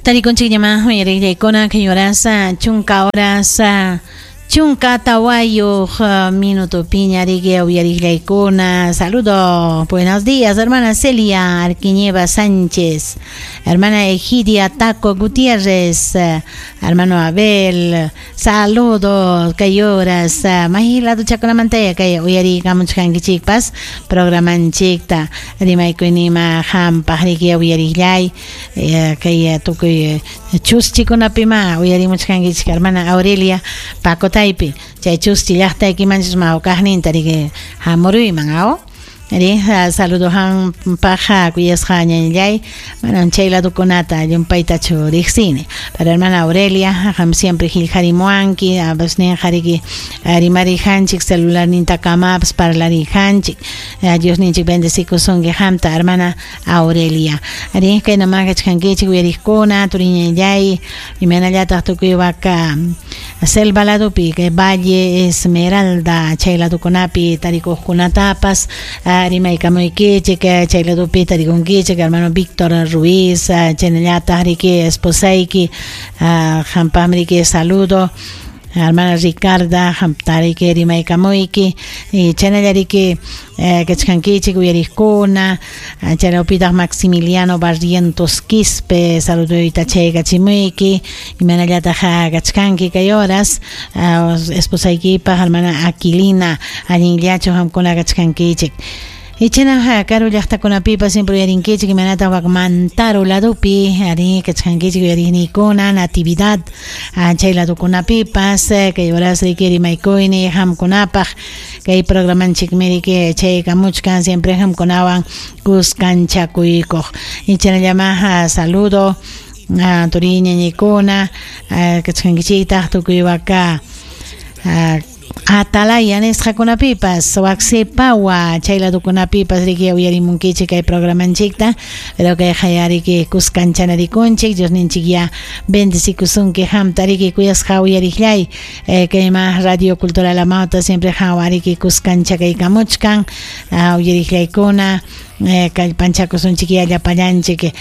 Tarikunchikñamá uyariqllaykuna kay horas chunka horas chunka tawayuq minutopiña riki uyariqllaykuna. Saludo, buenos días, hermana Celia Arquiñeva Sánchez, hermana Egidia Taco Gutiérrez, hermano Abel, saludos kay horas may lado chakunamantaya kay uyariykamuchkankichikpas programanchikta rimaykuynima hampaq riki uyariqllay kay tukuy chuschikunapima uyarimuchkankichik hermana Aurelia Pacotaypi chay chuschi llaqtaykimanchus mawkaqninta riki hamuruyman aw ri saludo hampaq kuyasqa ñañallay manam chay ladukunata llumpaytachu riqsini pero hermana Aurelia qam siempre qillqarimuwanki abasninqa riki rimarijanchik celularnintakamapas parlarijanchik Diosninchik bendecikusunki qamta hermana Aurelia ri kaynama kachkankichik uyariqkuna turiñallay imaynallataq tukuy waka selva ladupi kay Valle Esmeralda chay ladukunapi tarikuqkunatapas rimaykamuykichik chay ladupi tarikunkichik hermano Víctor Ruiz chaynallataq riki esposayki qampaqmi riki saludo hermana Ricarda qamta riki rimaykamuyki y chaynalla riki kachkankichik uyariqkuna chaylawpitaq Maximiliano Barrientos Quispe saluduyta chayachimuyki imaynallataq kachkanki kay horas esposaykipaq hermana Aquilina allinllachu qamkuna kachkankichik Ichana karu llaqtakunapipas siempre uyarinkichik imaynataq wak Mantaro ladupi ari kachkankichik uyariqniykuna Natividad chay ladukunapipas kay horas riki rimaykuyni qamkunapaq kay programanchikmi riki chaykamuchkan siempre qamkunawan kuskanchakuykuq ichanallama saludo turiy ñañaykuna kachkankichiktaq tukuy waka Atalaya nisqakunapipas wak Sepawa chay ladukunapipas riki uyarimunkichik kay programanchikta pero kayqa riki kuskanchanarikunchik Diosninchik ya bendecikusunki qamta riki kuyasqa uyariqllay kayma Radio Cultural Amauta siempre qanwan riki kuskanchakaykamuchkan uyariqllaykuna kallpanchakusunchik ya llapallanchik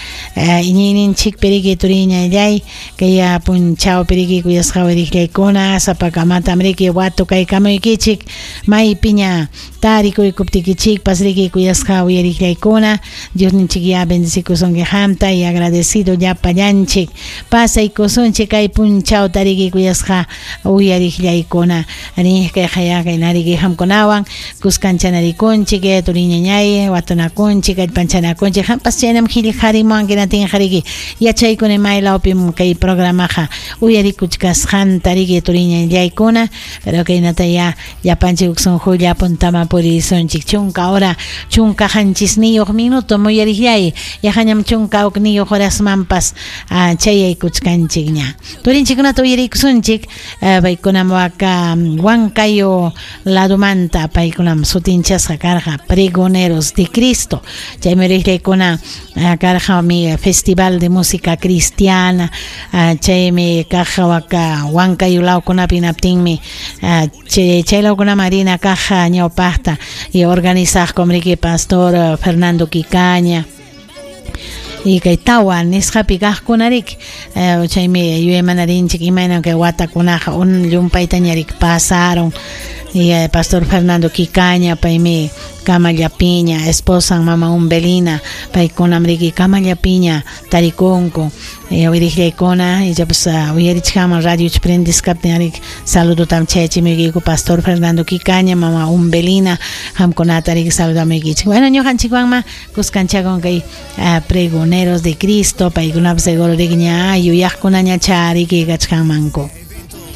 iñiyninchikpi riki turiñallay kay punchawpi riki kuyasqa uyariqllaykuna sapakamatam riki watukaykamuykichik maypiña tarikuykuptikichikpas riki kuyasqa uyariqllaykuna Diosninchik ya bendecikusunki qamta y agradecido llapallanchik pasaykusunchik kay punchawta riki kuyasqa uyariqllaykuna ri kayqa ya kayna riki qamkunawan kuskanchanarikunchik turiñañay watunakunchik kallpanchanakunchik qampas chaynam qillqarimuwanki natinqa riki yachaykuni maylawpim kay programaqa uyarikuchkasqanta riki turiñallaykuna pero kaynata ya llapanchik huk sunqulla puntaman purisunchik chunka hora chunka qanchisniyuq minuto muyariqllay yaqañam chunka hukniyuq horasmanpas chayaykuchkanchikña turinchikkunata uyarikusunchik paykunam waka Huancayo ladumanta paykunam sutinchasqa karqa Pregoneros de Cristo chaymi riqllaykuna karqa mi Festival de Música Cristiana chaymi kaq waka Huancayo lawkunapi hinaptinmi chay lawkunaman rina kaq ñawpaqta y organizaqkum riki pastor Fernando Quicaña y kay tawa nisqapi kaqkuna riki chaymi yuyaymanarinchik imaynam kay watakunaqa un llumpaytaña riki pasaron y pastor Fernando Quicaña paymi kamallapiña esposan mama Umbelina paykunam riki kamallapiña tarikunku uyariqllaykuna ichapas uyarichkanman radiocha prendisqaptin riki saludotam chayachimuykiku pastor Fernando Quicaña mama Umbelina qamkunata riki saludamuykichik bueno ñuqanchikwanma kuskanchakun kay Pregoneros de Cristo paykunapas seguro riki ña yuyaqkunañacha riki kachkanmanku.